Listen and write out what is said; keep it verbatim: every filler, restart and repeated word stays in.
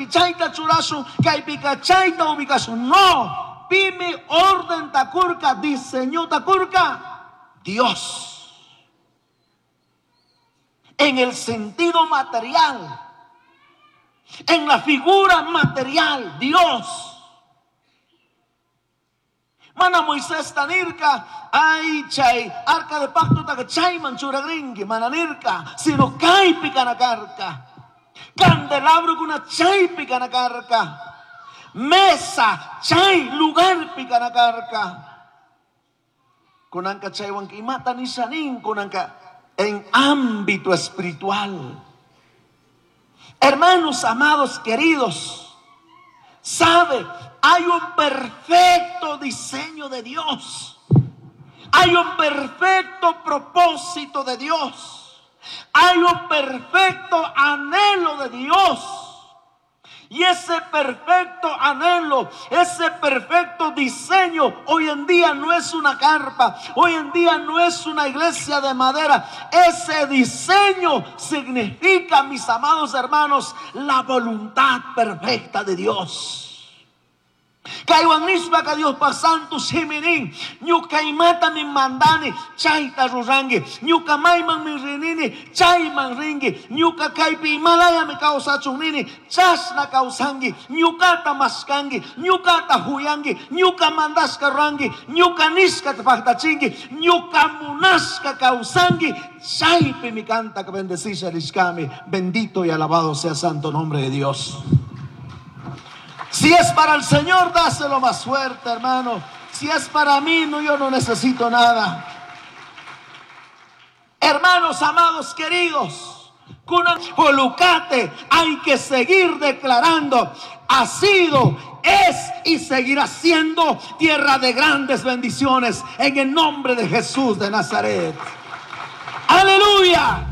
chayta churashun, kaypika chayta ubicashun. No, pimi orden ta curka, diseño ta curka, Dios. En el sentido material, en la figura material, Dios. Mana Moisés ta nirca, ay chay, arca de pacto ta chayman churagringi, mana nirca, sino kaypi kana karka. Candelabro kuna chaypi kana karka. Mesa, chay, lugar kana karka. Kunanka chaywan imata nishanin, kunanka en ámbito espiritual. Hermanos amados, queridos, sabe, hay un perfecto diseño de Dios. Hay un perfecto propósito de Dios. Hay un perfecto anhelo de Dios. Y ese perfecto anhelo, ese perfecto diseño, hoy en día no es una carpa, hoy en día no es una iglesia de madera. Ese diseño significa, mis amados hermanos, la voluntad perfecta de Dios. Kaywan nishpaka Diospa santo shiminin, ñuka imatami mandani, chayta rurangi, ñuka maymanmi rinini, chayman ringi, ñuka kaypi imalayami kawsachun nini, chashna kawsangi, ñukata mashkangi, ñukata huyangi, ñuka mandashka rurangi, ñuka nishkata paktachingi, ñuka munashka kawsangi, chaypimi kanta bendecisa rishkami. Bendito y alabado sea santo nombre de Dios. Si es para el Señor, dáselo más fuerte, hermano. Si es para mí, no, yo no necesito nada. Hermanos amados, queridos, Polucate, hay que seguir declarando. Ha sido, es y seguirá siendo tierra de grandes bendiciones en el nombre de Jesús de Nazaret. Aleluya.